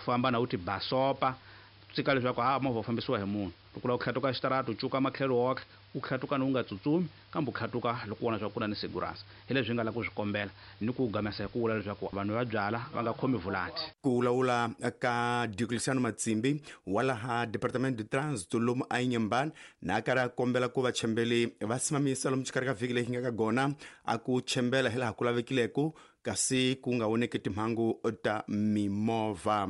Famba na u ti basopa, tsika leswaku a movha wu fambisiwa hi munhu. Loko u lava ku tlhatuka xitarata u cuka matlhelo woxe, u tlhatuka ni u nga tsutsumi, kambe u tlhatuka loko u vona leswaku ku na ni segurança. Hi leswi hi nga lava ku swi kombela ni ku gamesa hi ku vula leswaku vanhu va byala va nga khomi vulati. Ku vulavula ka Diocleciano Matsimbi wa laha Departamento de Trânsito lomu a Inhambane na a karhi a kombela ku vachembeli va simamisa lomu xikarhi ka vhiki leyi nga ka gona a ku chembela hi laha ku lavekileko kasi ku nga voneki timhangu ta mimovha.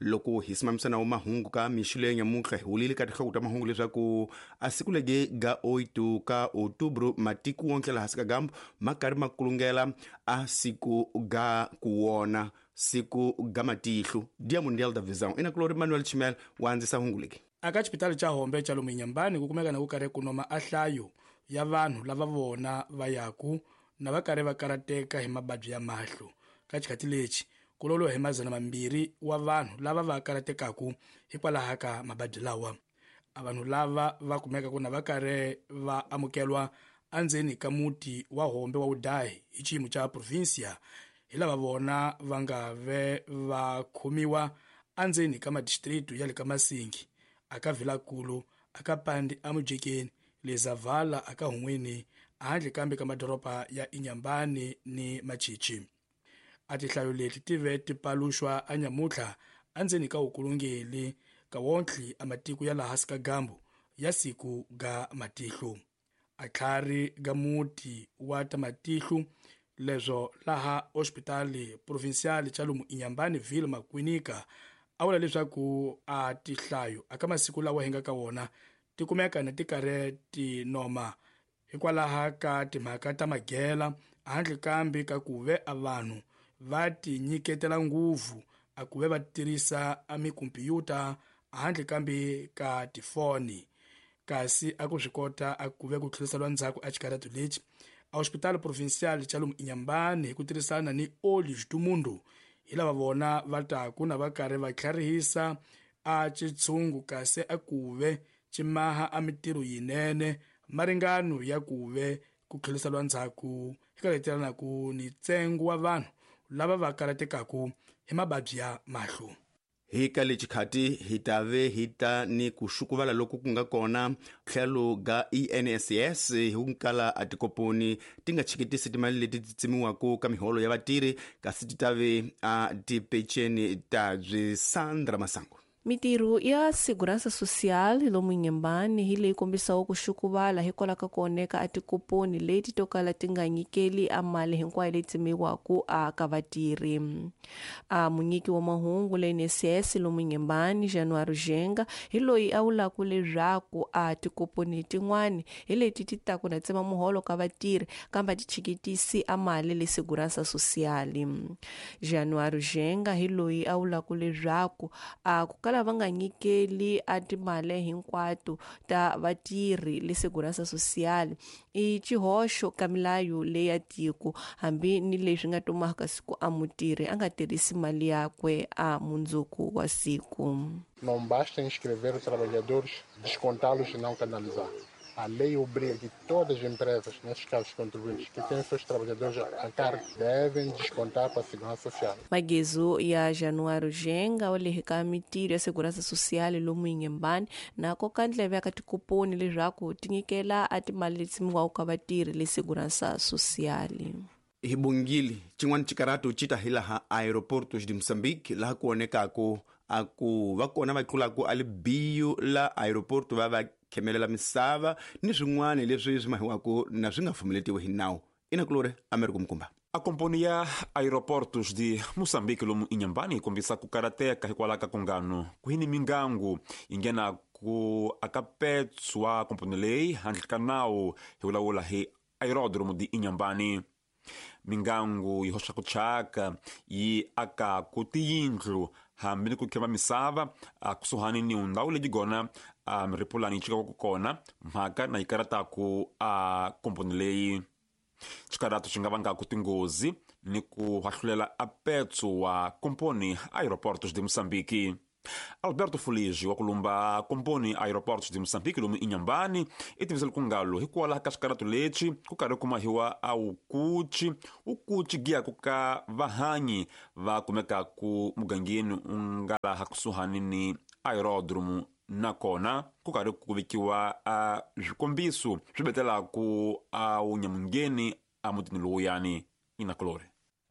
Loko hi simamisa nawo mahungu ka mixo leyi nyamuntlha, hi wulile ka tinhloko ta mahungu leswaku a siku lege ga 8 ka outubro matiko wonke laha hansi ka gambu ma karhi ma kulungela a siku ga ku wona siku ga matihlo, Dia Mundial da Visão. Ina kulori Manuel Chimel wa andzisa hungu leki. Aka xipitali xa Hombe xa lomu Inhambane ku kumeka na ku karhi ku noma a hlayo ya vanhu lava vona va yaku na va karhi va karateka hi mababyi ya mahlo. Ka xikhathi lexi ku loloha hi 200 wa vanhu lava va karatekaku hikwalaho ka mababyi lawa. A vanhu lava va kumekaku na va karhi va amukelwa endzeni ka muti wa Hombe wa Udayi hi xiyimo xa provincia, hi lava vona va nga ve va khomiwa endzeni ka madistritu ya le ka Masingi, aka Vilakulu, aka Pandi aMujekeni, le Zavala aka Hun'wini, handle kambe ka madoroba ya Inhambane ni Machichi. A tihlayo leti ti ve ti paluxwa anyamutlha endzeni ka ukulungeli ka wontlhi a matiko ya laha hansi ka gambu ya siku ga matihlo. A tlhari ga muti wa ta matihlo leswo laha hospitali provincial xa lomu Inhambane Ville Makwinika a vula leswaku a tihlayo aka masiku lawa hi nga ka wona ti kumeka na ti karhi ti noma hikwalaho ka timhaka ta magela, handle kambe ka ku ve a vanhu va ti nyiketela nguvu a ku ve va tirhisa a mikhompyuta handle kambe ka tifoni. Kasi a ku swi kota a ku ve ku tlheriseriwa ndzhaku a xikarhato lexi a hospitali provincial xa lomu Inhambane hi ku tirhisana ni Olhos do Mundo, hi lava vona va taku na va karhi va tlharihisa a xitshungu kasi a ku ve ximaha a mitirho yinene maringano ya ku ve ku tlheriseriwa ndzhaku eka letelanaku ni ntsengo wa vanhu lava va karatekaku hi mababyi ya mahlo. Hi ka lexi khati hi ta ve hi ta ni ku xukuvala loku ku nga kona tlhelo ga ENSS hi ku kala a tikoponi ti nga chikitisi timali leti ti tsemiwaka ka miholo ya vatirhi, kasi ti ta ve a tipeceni ta byi Sandra Masango. Mitirho ya Segurança Social lomu Inhambane hi leyi kombisaka ku xukuvala hikwalaho ka ku onheka a tikoponi leti to kala ti nga nyikeli a mali hinkwayo leyi tsemiwaka a ka vatirhi. A munyiki wa mahungu le INSS lomu Inhambane Januário Genga hi loyi a vulaka leswaku a tikoponi tin'wani hi leti ti taku na tsema muholo ka vatirhi kambe a ti chikitisi a mali le Segurança Social. Januário Genga hi loyi a vulaka leswaku a ku kala va nga nyikeli a timali hinkwato ta vatirhi le Segurança Social i xihoxo ka milayo leyi ya tiko, hambi ni leswi nga tumaka siku a mutirhi a nga tirhisi mali yakwe a mundzuku wa siku. Não basta inscrever os trabalhadores, descontá-los e não canalizar. A lei obriga que todas as empresas, nesses casos contribuintes, que têm seus trabalhadores a cargo, devem descontar para a Segurança Social. Magezo ya Januário Genga wa le ka mitirho ya Segurança Social lomu Inhambane na koka ndleve ya ka tikoponi leswaku ti nyikela a timali leti tsemiwaka ka vatirhi le Segurança Social. Hi bungili xin'wana xikarato xi ta hi laha Aeroportos de Moçambique, laha ku vonekaku a ku va kona va tlulaku a libiyo la aeroporto va va khemelela misava ni swin'wana leswi swi mahiwaku na swi nga pfumeletiwi hi nawu. Ina kulori Americo Mukumba. A komponi ya Aeroportos de Moçambique lomu Inhambane yi kombisa ku karateka hikwalaho ka kungano ku hi ni mingangu yi nghena ku aka petso wa komponi leyi handle ka nawu, hi vulavula hi Aeródromo de Inhambane. Mingangu yi hoxa ku thyaka yi akaku tiyindlu hambi ni ku khema misava a kusuhani ni ndhawu leyi gona a miripulani yi chikaka kona, mhaka na yi karataku a komponi leyi. Xikarato xi nga vangaku tinghozi ni ku hahlulela a petso wa komponi Aeroportos de Moçambique. Alberto Fulige wa kulumba komponi Aeroportos de Moçambique lomu Inhambane i tivisele ku ngalo hikwalaho ka xikaratu lexi ku karhi ku mahiwa a wukuchi wukuchi giyaku ka vahanyi va kumekaku mugangeni u nga laha kusuhani ni aerodromo nakona ku karhi ku vekiwa a swikombiso swi betelaku a wunyamungeni a mutini lowuyani inakulori.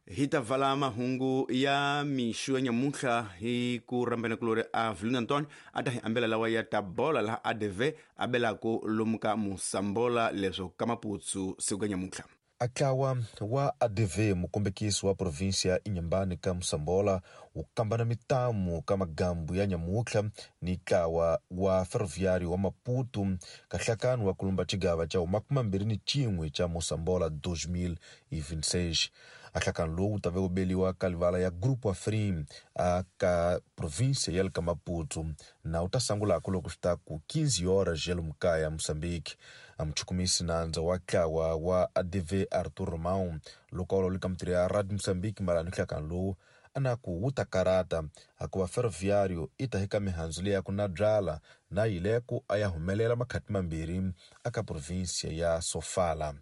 Hi ta vala mahungu ya mixo ya nyamuntlha hi ku rhambana kulori a Vilino Antonio a ta hi ambela lawa ya ta bola laha ADV a belaku lomu ka Mosambola leswo ka Maputsu siku ka nyamuntlha. Atlawa wa ADV mukombekisi wa provinsia ya Inhambane ka Mosambola wu kambana mitamu ka magambu ya nyamutlha ni ntlawa wa ferroviário wa Maputo ka nhlakano wa kulumba xigava xa 21 xa Mosambola 2026. Ahlakano lowu wu tave ku beliwa ka livala ya Grupo Afrim a ka provinsia ya le ka Maputo na wu ta sangulako loko swi ta ku 15 horas ya lomu kaya Moçambique. A muchukumisi nandza wa ntlawa wa ADV Arthur Romão loko a vulavula ka mitirho ya Radio Moçambique mayelana ni nhlakano lowu a na ku wu ta karata hikuva ferroviário i ta hika mihandzu leyi ya ku na byala na yileko a ya humelela makhati mambirhi aka provinsia ya Sofala.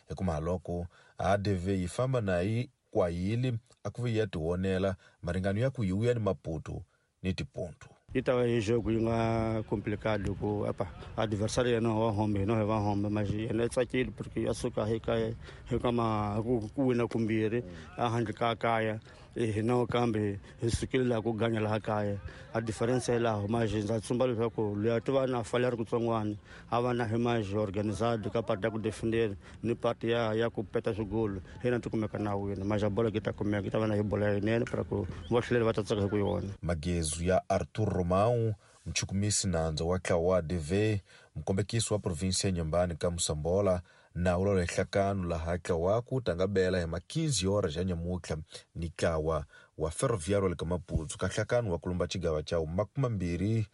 Hikumaha loko ADV yi famba na yi kwayili a ku ve yi ya tionela maringano ya ku yi wuya ni Maputo ni tipontu. Yi ta va hi jogo yi nga complicado ku apa adversário yena wa hombe hina hi va hombe mas yena i tsakile porque a suka hi ka hi ka ma ku wina kumbirhi a handle ka kaya hina kambe hi sukile laha ku ganya laha kaya a difference hi laha mas ndza tsumba leswaku luya ti va na fale ri kutsongwana a va na hi mas organizado ka part ya ku defender ni part ya ku peta swigolo hina ti kumeka na wina mas a bolo ki ta kumeka yi ta va na hi bolo yinene para ku vahlaleri va ta tsaka hi ku yona. Magezu ya Arthur Romão muchukumisi nandza wa ntlawa wa ADV mukombekisi wa provinsia ya Inhambane ka Mosambola na vulavula hi nhlakano laha ntlawa wa ku ta nga bela hi ma 15 horas ya nyamuntlha ni ntlawa wa ferroviário wa le ka Maputo ka nhlakano wa kulumba xigava xa 22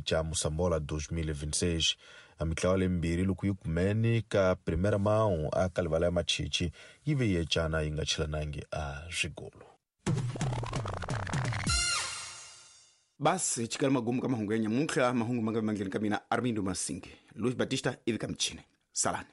xa Mosambola 2026. A mitlawa leyimbirhi loko yi kumene ka primera mão a ka livala ya Machichi yi ve yi ecana yi nga chilanangi a swigolo. Basi chikala magumu ka mahungu ya nyamuntlha mahungu ma nga mandleni ka mina Armindo Masinge Luis Batista ivi ka michini salani.